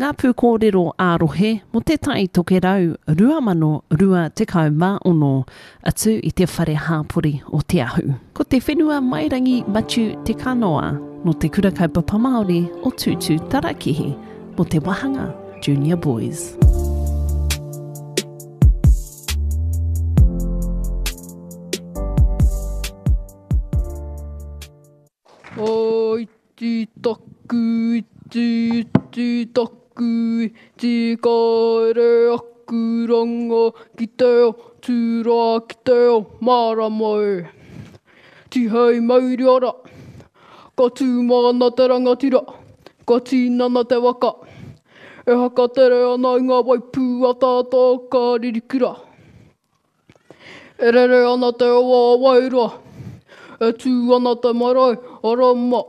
Ngā pūkōrero ā-rohe mō Te Tai Tokerau 2026, atu i te Whare Hāpori o Te Ahu. Ko Te Whenua Mairangi Matiu Te Kanoa nō Te Kura Kaupapa Māori o Tūtū Tarakihi mō te wāhanga Junior Boys. Iti taku iti iti taku iti Kāre aku ranga ki te ao Tūroa ki te ao mārama e Tihei mauri ora Ka tū mana te rangatira Ka tīnana te waka E hakatere ana i ngā waipū ataata o ka ririkura. E rere ana te awa o Wairoa, e tū ana te marae o Roma.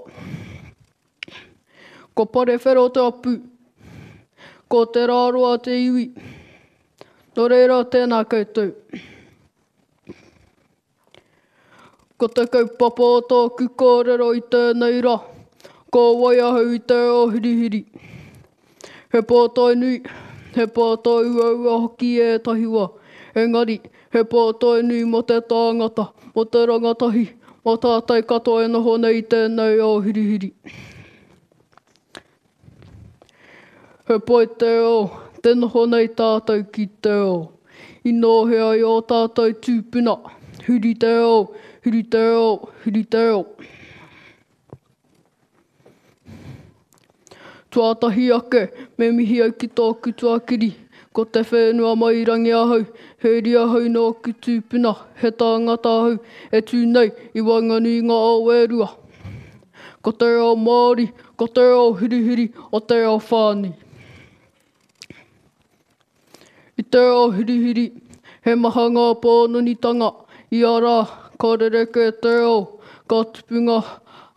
Ko Parewhero te apu, ko Te Rāroa te iwi. Nō reira, tēnā koutou. Ko te kaupapa o tōku kōrero i tēnei rā, ko wai ahau i te ao hirihiri. He pātai nui, he pātai uaua hoki ētahi wā, engari, he pātai nui mō te tāngata, mō te rangatahi, mō tātou katoa e noho nei i tēnei ao hirihiri. He pai te ao, te noho nei tātou ki te ao. I nōhea ai ō tātou tūpuna, huri te ao, huri te ao, huri te ao. Tuatahi ake, me mihi au ki tōku tuakiri, ko te whenua mairangi ahau, he uri ahau nōku tūpuna, he tāngata ahau e tū nei i waenganui i ngā ao e rua. Ko te ao Māori, ko te ao hurihuri o te ao whānui. I te ao hurihuri, he maha ngā pānonitanga, ia rā, ka rerekē te ao, ka tupu ngā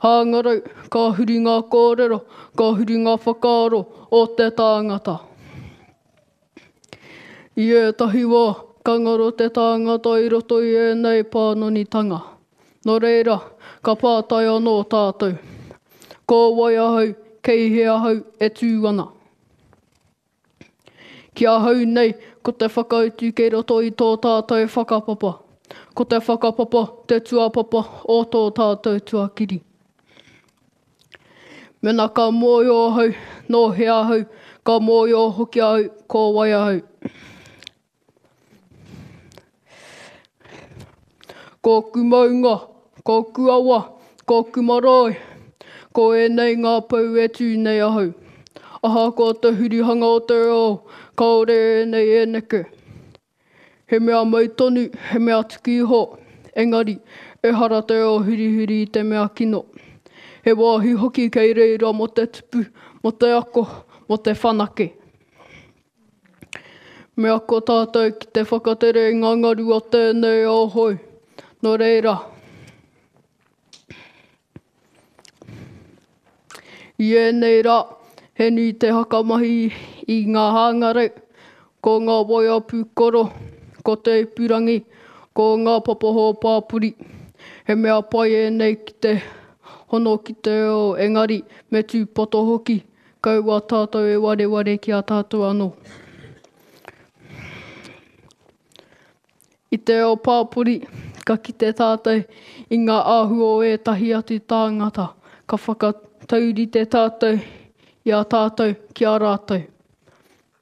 hāngarau, ka huri ngā kōrero, ka huri ngā whakaaro o te tāngata. I ētahi wā, ka ngaro te tāngata i roto i ēnei pānonitanga. Nō reira, ka pātai anō tātou, Ko wai ahau, kei hea ahau e tū ana? Ki ahau nei, ko te whakautu kei roto i tō tātou whakapapa. Ko te whakapapa te tuapapa o tō tātou tuakiri. Mena ka mōhio ahau nō hea ahau, ka mōhio hoki ahau ko wai ahau. Kōku maunga, kōku awa, kōku marae, ko ēnei ngā pou e tū nei ahau. Ahakoa te hurihanga o te ao, kāore ēnei e neke. He mea mau tonu, he mea tuku iho, engari, ehara te ao hurihuri i te mea kino. He wāhi hoki kei reira mō te tupu, mō te ako, mō te whanake. Me ako tātou ki te whakatere i ngā ngaru o tēnei ao hou. Nō reira. I ēnei rā, he nui te hakamahi i ngā hangarau, ko ngā waea pūkoro, ko te ipurangi, ko ngā papaho pāpori. He mea pai ēnei ki te hono ki te ao, engari me tūpato hoki, kaua tātou e wareware ki a tātou anō. I te ao pāpori, ka kite tātou i ngā āhua o ētahi atu tāngata, ka whakataurite tātou i a tātou ki a rātou.